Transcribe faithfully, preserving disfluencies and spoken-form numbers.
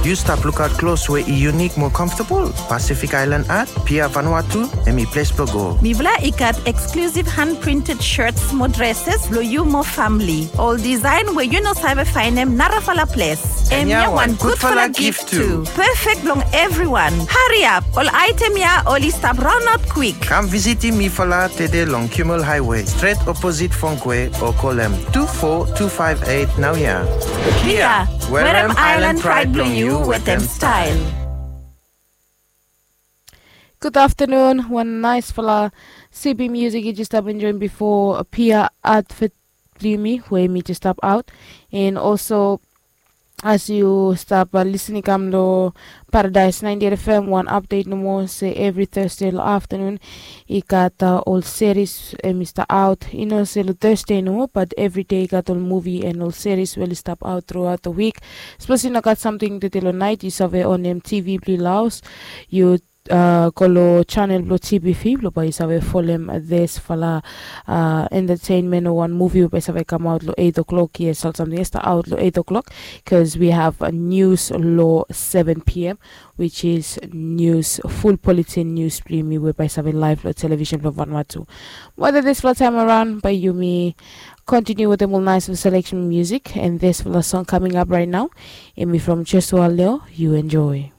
Yu stap lukaot klos we i yunik mo comfortable? Pacific Island Art, Pia Vanuatu, hemi ples blo go. Mifala i gat exclusive hand printed shirts mo dresses blo yu mo famili. Ol design we yu no save faenem narafala ples. Hemia wan gudfala gift tu. Perfect blong everyone. Hariap, ol item ya oli stap raonaot kwik. Kam visitim mifala tede long Kimmel Highway, stret oposit Fongkwe, o kolem tu fo tu faef eit naoia. Pia, werem Island Pride blong yu wetem style. Gud aftenun. Wan naesfala sibi musik yu jes stap enjoem bifo Pia Advert blong yumi we mi jes stap aot. And also as yu stap lisin i kam long Paradise ninety-eight F M, wan update nomo se evri Thursday long aftenun i gat ol series em i stap aot. I no se long Thursday nomo, but evri dei i gat ol muvi and ol series we oli stap aot truaot long wik. Sapos i no gat samting tede long naet, yu save onem T V blong yu long haos, yu go long channel blong T B V blong bae yu save folem disfala entertainment o wan muvi we bae i save kamaot long eight o'clock. Yes, ol samting i stap aot long eight o'clock, bikos we have news long seven p.m., which is news, full bulletin news blong yumi we bae i save laev long television blong Vanuatu. Wetem disfala taem araon bae yumi kontiniu wetem ol naesfala selection musik, and disfala song coming up right now, hemi from Joshua Leo. Yu enjoy.